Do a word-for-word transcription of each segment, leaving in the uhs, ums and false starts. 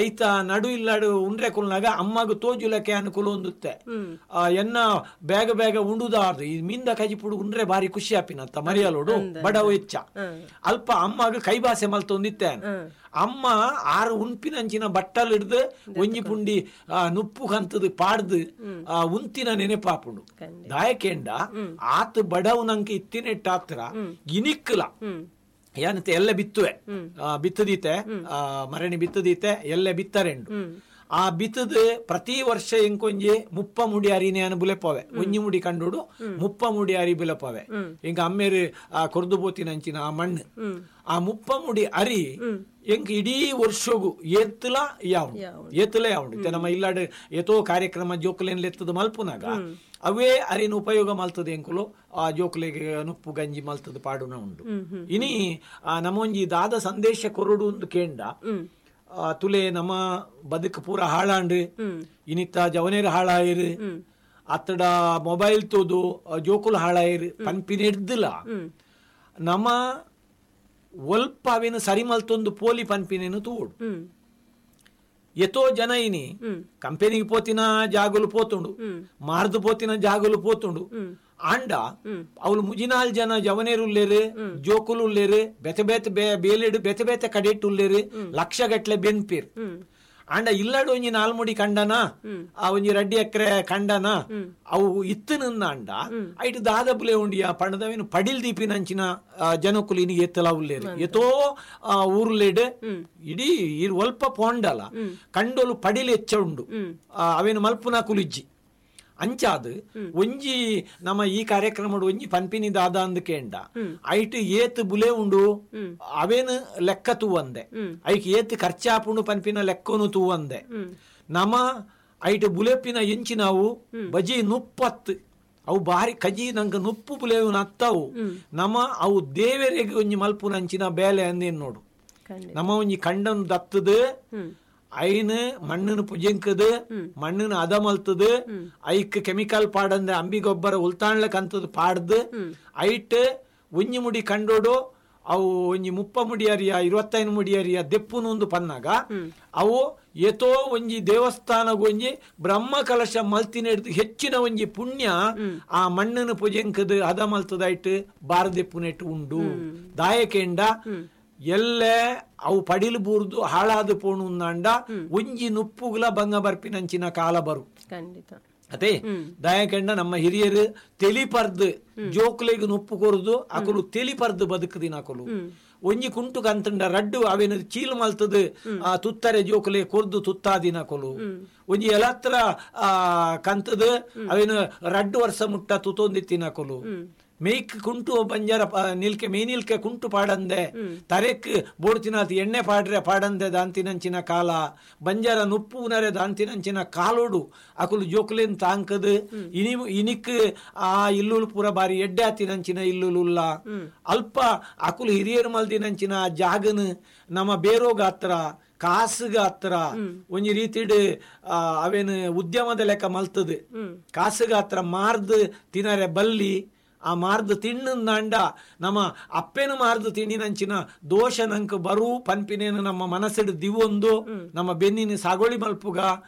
ಐತ ನಡು ಇಲ್ಲಾಡು ಉಂಡ್ರೆ ಕುಲ್ನಾಗ ಅಮ್ಮಗ ತೋಜುಲಕ್ಕೆ ಅನುಕೂಲ ಹೊಂದುತ್ತೆ. ಎನ್ನ ಬೇಗ ಬೇಗ ಉಂಡುದಾರ್ದು ಈ ಮೀನ್ದ ಕಜಿಪುಡು ಉಂಡ್ರೆ ಬಾರಿ ಖುಷಿ ಆಪಿನತ್ತ ಮರಿಯಲೋಡು ಬಡವು ಹೆಚ್ಚ ಅಲ್ಪ ಅಮ್ಮಗ ಕೈಬಾಸೆ ಮಲ್ತೊಂದಿತ್ತೆ. ಅಮ್ಮ ಆರು ಉಣ್ಪಿನಂಚಿನ ಬಟ್ಟಲ್ ಹಿಡ್ದು ಒಂಜಿ ಪುಂಡಿ ನುಪ್ಪು ಕಂತದ ಪಾಡ್ದು ಉಂತಿನ ನೆನಪಾಪುಂಡು. ದಾಯಕೇಂಡ ಆತ ಬಡವು ನಂಗೆ ಇತ್ತಿನೆಟ್ಟಾತ್ರ ಇನಿಕ್ಕಲ ಏನಂತೆ ಎಲ್ಲ ಬಿತ್ತುವೆ ಬಿತ್ತದೀತೆ ಮರಣಿ ಬಿತ್ತದೀತೆ ಎಲ್ಲ ಬಿತ್ತರೆಂಡು. ಆ ಬಿತ್ತದ ಪ್ರತಿ ವರ್ಷ ಎಂಕೊಂಜಿ ಮುಪ್ಪ ಮುಡಿ ಅರಿನೇ ಅನು ಬುಲೆಪವೆ ಒಂಜಿ ಮುಡಿ ಕಂಡುಡು ಮುಪ್ಪ ಮುಡಿ ಅರಿ ಬುಲೆಪವೆ. ಇಂಕ ಅಮ್ಮೇರು ಆ ಕೊರ್ದು ಪೋತಿನಂಚಿನ ಆ ಮಣ್ಣು ಆ ಮುಪ್ಪ ಮುಡಿ ಅರಿ ಎಂಕ್ ಇಡೀ ವರ್ಷಗು ಏತ್ತಲ ಯಾವು ಏತ್ತಲ ಯಾವುಂಡು. ನಮ್ಮ ಇಲ್ಲಾಡು ಏತೋ ಕಾರ್ಯಕ್ರಮ ಜೋಕುಲೇನ್ ಎತ್ತದ ಮಲ್ಪುನಾಗ ಅವೇ ಅರಿನ ಉಪಯೋಗ ಮಲ್ತದೆ ಎಂಕುಲು ಆ ಜೋಕುಲೆಗೆ ನುಪ್ಪು ಗಂಜಿ ಮಲ್ತದ ಪಾಡುನ ಉಂಡು. ಇನಿ ಆ ನಮ್ಮೊಂಜಿ ದಾದ ಸಂದೇಶ ಕೊರಡು ಒಂದು ಕೇಂಡ ತುಲೆ ನಮ್ಮ ಬದುಕು ಪೂರ ಹಾಳಾಂಡು ಇನಿತ್ತ ಜವನೇರು ಹಾಳಾಯಿರು ಅತ್ತಡ ಮೊಬೈಲ್ ತೋದು ಜೋಕುಲು ಹಾಳಾಯಿರು ಪನ್ಪಿನ ಹಿಡ್ದಿಲ್ಲ ನಮ್ಮ ಒಲ್ಪ ಅವೇನು ಸರಿ ಮಲ್ತೊಂದು ಪೋಲಿ ಪನ್ಪಿನೇನು ತೋಡು. ಎತೋ ಜನ ಇನಿ ಕಂಪೆನಿಗೆ ಪೋತಿನ ಜಾಗಲು ಪೋತುಂಡು ಮಾರ್ದು ಪೋತಿನ ಜಾಗಲು ಪೋತುಂಡು. ಆಂಡ ಅವಳು ಮುಜಿನಾಲ್ ಜನ ಜವನೇರು ಉಲ್ಲೇರು ಜೋಕುಲು ಉಲ್ಲೇರು ಬೆತೆ ಬೇತೆ ಬೇಲೆಡು ಬೆತೆ ಬೇತೆ ಕಡೆಟ್ಟು ಉಲ್ಲೇರು ಲಕ್ಷ ಗಟ್ಲೆ ಬೆನ್ಪೀರ್. ಆಂಡ ಇಲ್ಲಡು ಒಂಜಿ ನಾಲ್ಮುಡಿ ಕಂಡನ ಆ ಒಂಜಿ ರಡ್ಡಿ ಎಕರೆ ಕಂಡನ ಅವು ಇತ್ತು ನಿನ್ನ ಅಂಡ ಐಟು ದಾದ ಬುಲೆ ಉಂಡಿಯ ಪಣದವೇನು ಪಡಿಲ್ ದೀಪಿನಂಚಿನ ಜನಕುಲು ಇನಿ ಎತ್ತಲ ಉಲ್ಲೇರು ಎತೋ ಊರುಲೇಡು ಇಡೀ ಒಲ್ಪ ಪೋಂಡಲ ಕಂಡೋಲು ಪಡಿಲ್ ಹೆಚ್ಚ ಉಂಡು ಅವೇನು ಮಲ್ಪುನ ಕುಲಿಜ್ಜಿ. ಅಂಚಾದು ಒಂಜಿ ನಮ್ಮ ಈ ಕಾರ್ಯಕ್ರಮ ಒಂಜಿ ಪನ್ಪಿನಿ ದಾದ ಅಂದ್ ಕೇಂಡ ಐಟ್ ಏತ್ ಬುಲೆ ಉಂಡು ಅವೇನು ಲೆಕ್ಕ ತೂವಂದೆ ಐಕ್ ಏತ್ ಖರ್ಚಾಪುಂಡು ಪನ್ಪಿನ ಲೆಕ್ಕನು ತೂವಂದೆ ನಮ್ಮ ಐಟ್ ಬುಲೆಪಿನ ಎಂಚಿ ನಾವು ಬಜಿ ನುಪ್ಪತ್ತು ಅವು ಬಾರಿ ಕಜಿ ನಂಗೆ ನುಪ್ಪು ಬುಲೆವು ನತ್ತವು ನಮ್ಮ ಅವು ದೇವರಿಗೆ ಒಂಜಿ ಮಲ್ಪುನಂಚಿನ ಬೇಲೆ ಅಂದೇನು ನೋಡು. ನಮ್ಮ ಒಂಜಿ ಕಂಡನ್ ದತ್ತದು ಐನ್ ಮಣ್ಣನ್ನು ಪುಜೆಂಕದು ಮಣ್ಣನ್ನು ಅದ ಮಲ್ತದು ಐಕ್ ಕೆಮಿಕಲ್ ಪಾಡಂದೆ ಅಂಬಿ ಗೊಬ್ಬರ ಉಲ್ತಾಣ್ಲಕ್ಕಂತದ್ ಪಾಡ್ದು ಐಟ್ ಒಂಜಿ ಮುಡಿ ಕಂಡೋಡು ಅವು ಒಂಜಿ ಮುಪ್ಪ ಮುಡಿಯರಿಯ ಇರುವತ್ತೈದು ಮುಡಿಯರಿಯ ದೆಪ್ಪುನೊಂದು ಪನ್ನಾಗ ಅವು ಏತೋ ಒಂಜಿ ದೇವಸ್ಥಾನಗೊಂಜಿ ಬ್ರಹ್ಮ ಕಲಶ ಮಲ್ತಿನ ಹಿಡ್ದು ಹೆಚ್ಚಿನ ಒಂಜಿ ಪುಣ್ಯ ಆ ಮಣ್ಣನ್ನು ಪುಜೆಂಕದು ಅದ ಮಲ್ತದಾಯ್ತು ಬಾರ ದೆಪ್ಪುನೆಟ್ಟು ಉಂಡು. ದಾಯಕೆಂಡ ಎಲ್ಲೆ ಅವು ಪಡಿಲು ಬೂರ್ದು ಹಾಳಾದ ಪೋಣು ಅಂಡ ಒಂಜಿ ನುಪ್ಪುಗುಲ ಬಂಗ ಬರ್ಪಿನಂಚಿನ ಕಾಲ ಬರು. ಅದೇ ದಯಕೆಂಡ ನಮ್ಮ ಹಿರಿಯರು ತೆಲಿಪರ್ದು ಜೋಕ್ಲೆಗ್ ನುಪ್ಪು ಕೊರ್ದು ಅಕುಲು ತೆಲಿಪರ್ದು ಬದುಕುದಿನ ಅಕುಲು ಒಂಜಿ ಕುಂಟು ಕಂತಂಡ ರಡ್ಡು ಅವೇನು ಚೀಲು ಮಲ್ತದು ಆ ತುತ್ತರೆ ಜೋಕುಲೆ ಕೊರ್ದು ತುತ್ತಾದಿನ ಕೊಲು ಒಂಜಿ ಎಲತ್ರ ಆ ಕಂತದು ಅವೇನು ರಡ್ಡು ವರ್ಷ ಮುಟ್ಟ ತುತ್ತೊಂದಿತ್ತಿನ ಕೊಲು ಮೇಯ್ಕ್ ಕುಂಟು ಬಂಜಾರ ನಿಲ್ಕೆ ಮೇ ನಿಲ್ಕೆ ಕುಂಟು ಪಾಡಂದೆ ತರೆಕ್ ಬೋಡ್ತಿನಾತಿ ಎಣ್ಣೆ ಪಾಡ್ರೆ ಪಾಡಂದೆ ದಾಂತಿನಂಚಿನ ಕಾಲ ಬಂಜಾರ ನುಪ್ಪು ಉನರೆ ದಾಂತಿನಂಚಿನ ಕಾಲೋಡು ಅಕುಲು ಜೋಕುಲೇನ್ ತಾಂಕದು ಇನಿ ಇನಿಕ್ ಆ ಇಲ್ಲುಲು ಪೂರ ಬಾರಿ ಎಡ್ಡೆ ಆತಿನಂಚಿನ ಇಲ್ಲುಲುಲ್ಲ ಅಲ್ಪ ಅಕುಲು ಹಿರಿಯರು ಮಲ್ದಿನಂಚಿನ ಜಾಗನು ನಮ್ಮ ಬೇರೋಗಾತ್ರ ಕಾಸುಗಾತ್ರ ಒಂಜಿ ರೀತಿಡ್ ಅವೇನು ಉದ್ಯಮದ ಲೆಕ್ಕ ಮಲ್ತದು ಕಾಸುಗಾತ್ರ ಮಾರ್ದು ತಿನರೆ ಬಲ್ಲಿ ಆ ಮಾರ್ದು ತಿಣ್ಣಂದಾಂಡ ನಮ್ಮ ಅಪ್ಪೇನು ಮಾರ್ದು ತಿಂಡಿನಂಚಿನ ದೋಷ ನಂಕ್ ಬರು ಪನ್ಪಿನೇನು ನಮ್ಮ ಮನಸ್ಸಿಡು ದಿವೊಂದು ನಮ್ಮ ಬೆನ್ನಿನ ಸಾಗೋಳಿ ಮಲ್ಪುಗ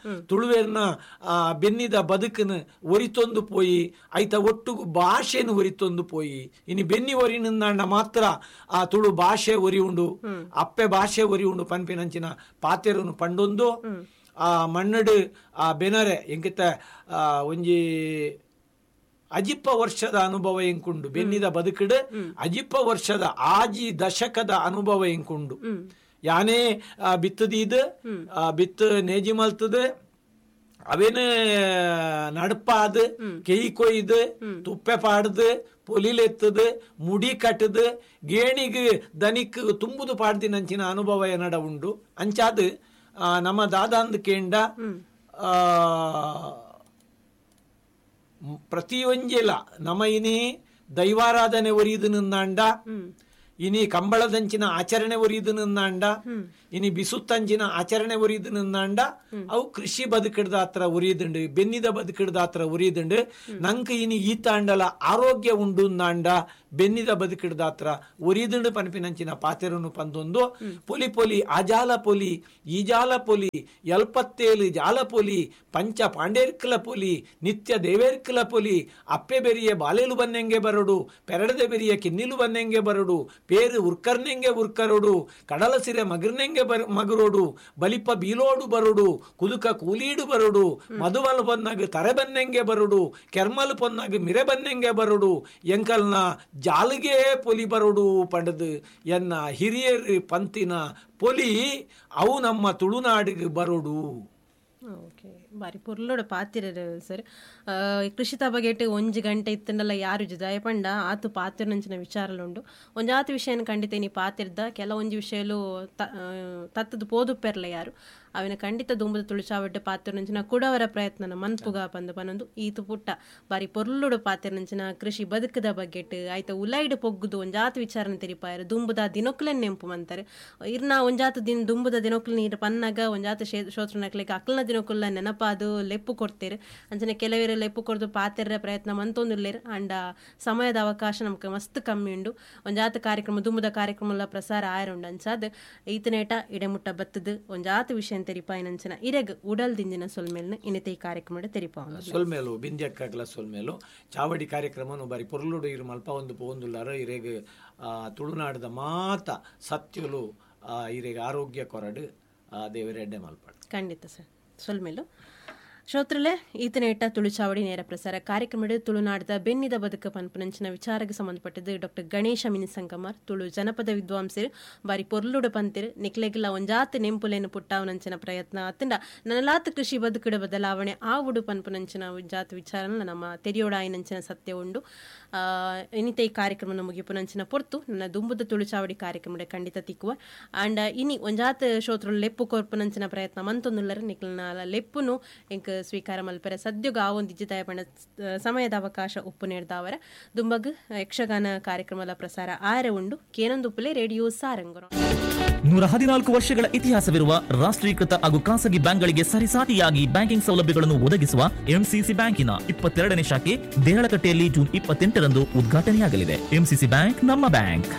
ತುಳುವೇರ್ನ ಆ ಬೆನ್ನಿದ ಬದುಕನ್ನು ಒರಿತೊಂದು ಪೋಯಿ ಐತ ಒಟ್ಟುಗು ಭಾಷೆನು ಒರಿತೊಂದು ಪೋಯಿ ಇನಿ ಬೆನ್ನಿ ಒರಿನಂದಾಂಡ ಮಾತ್ರ ಆ ತುಳು ಭಾಷೆ ಒರಿ ಉಂಡು ಅಪ್ಪೆ ಭಾಷೆ ಒರಿ ಉಂಡು ಪನ್ಪಿನಂಚಿನ ಪಾತೆರನು ಪಂಡೊಂದು ಆ ಮಣ್ಣಡು ಆ ಬೆನರೆ ಎಂಕಿತ ಒಂಜಿ ಅಜಿಪ್ಪ ವರ್ಷದ ಅನುಭವ ಎಂಕುಂಡು ಬೆನ್ನಿದ ಬದುಕಿಡು ಅಜಿಪ್ಪ ವರ್ಷದ ಆಜಿ ದಶಕದ ಅನುಭವ ಎಂಕುಂಡು ಯಾನೇ ಬಿತ್ತದೀದ್ ಬಿತ್ತು ನೇಜಿ ಮಲ್ತದ ಅವೇನು ನಡ್ಪಾದ ಕೆಯಿ ಕೊಯ್ದು ತುಪ್ಪೆ ಪಾಡ್ದು ಪೊಲಿಲೆತ್ತದು ಮುಡಿ ಕಟ್ಟದು ಗೇಣಿಗೆ ದನಿಕ್ ತುಂಬುದು ಪಾಡ್ದಿನಂಚಿನ ಅನುಭವ ಎನ್ನಡ ಉಂಡು. ಅಂಚಾದ ನಮ್ಮ ದಾದಾಂದ್ ಕೇಂಡ ಆ ಪ್ರತಿಯೊಂಜೆಲ ನಮ್ಮ ಇನಿ ದೈವಾರಾಧನೆ ಒರಿದು ನಿಂದಾಂಡ ಇನಿ ಕಂಬಳದಂಚಿನ ಆಚರಣೆ ಒರಿದು ನಿನ್ನಾಂಡ, ಇನಿ ಬಿಸುತ್ತಂಚಿನ ಆಚರಣೆ ಒರಿದು ನಿನ್ನಾಂಡ, ಅವು ಕೃಷಿ ಬದುಕಿಡ್ದ ಹತ್ರ ಉರಿದುಂಡು, ಬೆನ್ನಿದ ಬದುಕಿಡ್ದ ಹತ್ರ ಉರಿದುಂಡು. ನಂಕ್ ಇನಿ ಈತಾಂಡಲ ಆರೋಗ್ಯ ಉಂಡು ನಾಂಡ ಬೆನ್ನಿದ ಬದುಕಿಡ್ದ ಹತ್ರ ಉರಿದುಂಡು ಪನ್ಪಿನಂಚಿನ ಪಾತೆರನು ಪಂದೊಂದು ಪೊಲಿ ಪೊಲಿ ಆಜಾಲ ಪೊಲಿ ಈಜಾಲ ಪೊಲಿ ಎಲ್ಪತ್ತೇಲು ಜಾಲ ಪೊಲಿ ಪಂಚ ಪಾಂಡೇರ್ಕಲ ಪೊಲಿ ನಿತ್ಯ ದೇವೇರ್ಕಲ ಪೊಲಿ ಅಪ್ಪೆ ಬೆರಿಯ ಬಾಲೇಲು ಬನ್ನೆಂಗೆ ಬರಡು ಪೆರಡದೆ ಬೆರಿಯ ಕಿನ್ನಿಲು ಬನ್ನೆಂಗೆ ಬರಡು ಪೇರು ಉರ್ಕರ್ನೆಂಗೆ ಉರ್ಕರೋಡು ಕಡಲ ಸಿರೆ ಮಗರ್ನೆಂಗೆ ಬರ ಮಗರೋಡು ಬಲಿಪ ಬೀಲೋಡು ಬರೋಡು ಕುದುಕ ಕೂಲೀಡು ಬರೋಡು ಮಧುವಲ್ ಪೊನ್ನಾಗ ತರೆ ಬನ್ನೆಂಗೆ ಬರೋಡು ಕೆರ್ಮಲ್ ಪೊನ್ನಾಗ ಮಿರೆ ಬನ್ನೆಂಗೆ ಬರೋಡು ಎಂಕಲ್ನ ಜಾಲಿಗೆ ಪೊಲಿ ಬರೋಡು ಪಂಡದು ಎನ್ನ ಹಿರಿಯರು ಪಂತಿನ ಪೊಲಿ ಅವು ನಮ್ಮ ತುಳುನಾಡಿಗೆ ಬರೋಡು. ಓಕೆ, ಬಾರಿ ಪೊರ್ಲೋಡ ಪಾತಿರ ಸರ್. ಕೃಷಿತ ಬಗೆಟ್ ಒಂಜಿ ಗಂಟೆ ಇತ್ತಂಡಲ್ಲ ಯಾರು ಜಿದಾಯ ಪಂಡ ಆತು ಪಾತಿರನಂಚಿನ ವಿಚಾರಲುಂಡು. ಒಂಜಾತು ವಿಷಯನ ಖಂಡಿತ ನೀ ಪಾತಿರ್ದ ಕೆಲವೊಂಜಿ ವಿಷಯಲು ತತ್ತದ ಪೋದುಪ್ಪೆರ್ಲ ಯಾರು ಅವಿನ ಖಂಡಿತ ದುಂಬದ ತುಳುಚಾವಡ್ಡ ಪಾತಿರನಂಚಿನ ಕುಡವರ ಪ್ರಯತ್ನನ ಮನ್ಪುಗ ಪಂದ ಪನೊಂದು ಈತು ಪುಟ್ಟ ಬಾರಿ ಪೊರ್ಲುಡು ಪಾತಿರನಂಚಿನ ಕೃಷಿ ಬದುಕದ ಬಗ್ಗೆಟ್ ಆಯ್ತ ಉಲೈಡ್ ಪೊಗ್ಗುದು ಒಂಜಾತು ವಿಚಾರನ ತೆರಿಪಾಯರು ದುಂಬುದ ದಿನೊಕ್ಲೆನ್ ನೆಂಪು ಮಂತಾರೆ ಇರ್ನ ಒಂಜಾತು ದಿನ ದುಂಬುದ ದಿನೊಕ್ಲು ನೀರು ಪನ್ನಾಗ ಒಂಜಾತು ಶೋತ್ರನಕ್ಲೆಗ್ ಅಕ್ಲನ ದಿನೊಕುಲ್ಲ ನೆನಪಾದು ಲೆಪ್ಪು ಕೊಡ್ತೇರು. ಅಂಚನೆ ಕೆಲವೇರು ಲೆಪ್ಪು ಕೊರ್ದು ಪಾತೆರ ಪ್ರಯತ್ನ ಮಂತೊಂದುಲ್ಲೇರು. ಅಂಡ ಸಮಯದ ಅವಕಾಶ ನಮ್ಗೆ ಮಸ್ತ್ ಕಮ್ಮಿ ಉಂಡು. ಒಂಜಾತ ಕಾರ್ಯಕ್ರಮ ದುಂಬುದ ಕಾರ್ಯಕ್ರಮ ಪ್ರಸಾರ ಆಯರುಂಡು. ಅಂಚಾದ್ ಈತನೇಟ ಇಡೆಮುಟ್ಟ ಬತ್ತದು ಒಂಜಾತ ವಿಷಯ ತೆರಿಪಾಯಿನಂಚನ ಇರೆಗ್ ಉಡಲ್ ದಿಂಜಿನ ಸೊಲ್ಮೇಲ್ನ ಇನ್ನತೆ ಈ ಕಾರ್ಯಕ್ರಮ ತೆರಿಪಾವ ಸೊಲ್ಮೇಲು ಬಿಂದ್ಯಕ್ಕಾಗಲ ಸೊಲ್ಮೇಲು ಚಾವಡಿ ಕಾರ್ಯಕ್ರಮನು ಬಾರಿ ಪೊರ್ಲುಡು ಇರು ಮಲ್ಪ ಒಂದು ಪೋಂದುಲ್ಲಾರ ಇರೆಗ್ ತುಳುನಾಡದ ಮಾತ ಸತ್ಯಲು ಇರೆಗ್ ಆರೋಗ್ಯ ಕೊರಡು ದೇವರೆಡ್ಡೆ ಮಲ್ಪಾಡು. ಖಂಡಿತ ಸರ್ ಸೊಲ್ಮೇಲು. ಶ್ರೋತ್ರಲೆ ಈತನೇಟ ತುಳುಚಾವಡಿ ನೇರ ಪ್ರಸಾರ ಕಾರ್ಯಕ್ರಮದ ತುಳುನಾಡದ ಬೆನ್ನಿದ ಬದುಕ ಪನ್ಪನಂಚಿನ ವಿಚಾರಕ್ಕೆ ಸಂಬಂಧಪಟ್ಟದ್ದು ಡಾಕ್ಟರ್ ಗಣೇಶ ಮಿನಿಸಂಗಮಾರ್ ತುಳು ಜನಪದ ವಿದ್ವಾಂಸರು ಬಾರಿ ಪೊರ್ಲುಡು ಪಂತಿರು ನಿಕ್ಲೆಗಿಲ್ಲ ಒಂಜಾತ ನೆಂಪುಲೇನು ಪುಟ್ಟಾವನಂಚಿನ ಪ್ರಯತ್ನ ಅತ್ತಂಡ ನನಲಾತ ಕೃಷಿ ಬದುಕುಡ ಬದಲಾವಣೆ ಆವುಡು ಪನ್ಪನಂಚಿನ ಜಾತ ವಿಚಾರನ ನಮ್ಮ ತೆರಿಯೋಡಾಯಿನಂಚಿನ ಸತ್ಯ ಉಂಡು. ಇನ್ನಿತ ಈ ಕಾರ್ಯಕ್ರಮನ ಮುಗಿಪುನಂಚಿನ ಪೊರ್ತು ನನ್ನ ದುಂಬುದ ತುಳುಚಾವಡಿ ಕಾರ್ಯಕ್ರಮದ ಖಂಡಿತ ತಿಕ್ಕುವ. ಅಂಡ್ ಇನಿ ಒಂಜಾತ ಶ್ರೋತೃ ಲೆಪ್ಪು ಕೊರ್ಪುನಂಚಿನ ಪ್ರಯತ್ನ ಮಂತೊಂದುಲ್ಲರ ನಿಕ್ಲನ ಲೆಪ್ಪುನು ಎಂಕ್ ಸ್ವೀಕಾರ ಮಲ್ಪೆರೆ ಸದ್ಯಗ ಆವೊಂದು ಇಜ್ಜಿದಾಯ ಪಂಡ ಸಮಯದ ಅವಕಾಶ ಉಪ್ಪು ನೇರ್ದಾವರ ದುಂಬಗ್ ಯಕ್ಷಗಾನ ಕಾರ್ಯಕ್ರಮದ ಪ್ರಸಾರ ಆರೆ ಉಂಡು. ಕೇನೊಂದುಪ್ಪುಲೆ ರೇಡಿಯೋ ಸಾರಂಗರು. ನೂರ ಹದಿನಾಲ್ಕು ವರ್ಷಗಳ ಇತಿಹಾಸವಿರುವ ರಾಷ್ಟ್ರೀಕೃತ ಹಾಗೂ ಖಾಸಗಿ ಬ್ಯಾಂಕ್ಗಳಿಗೆ ಸರಿಸಾಟಿಯಾಗಿ ಬ್ಯಾಂಕಿಂಗ್ ಸೌಲಭ್ಯಗಳನ್ನು ಒದಗಿಸುವ ಎಂಸಿಸಿ ಬ್ಯಾಂಕಿನ ಇಪ್ಪತ್ತೆರಡನೇ ಶಾಖೆ ದೇಹಳಕಟ್ಟೆಯಲ್ಲಿ ಜೂನ್ ಇಪ್ಪತ್ತೆಂಟರಂದು ಉದ್ಘಾಟನೆಯಾಗಲಿದೆ. ಎಂಸಿಸಿ ಬ್ಯಾಂಕ್ ನಮ್ಮ ಬ್ಯಾಂಕ್.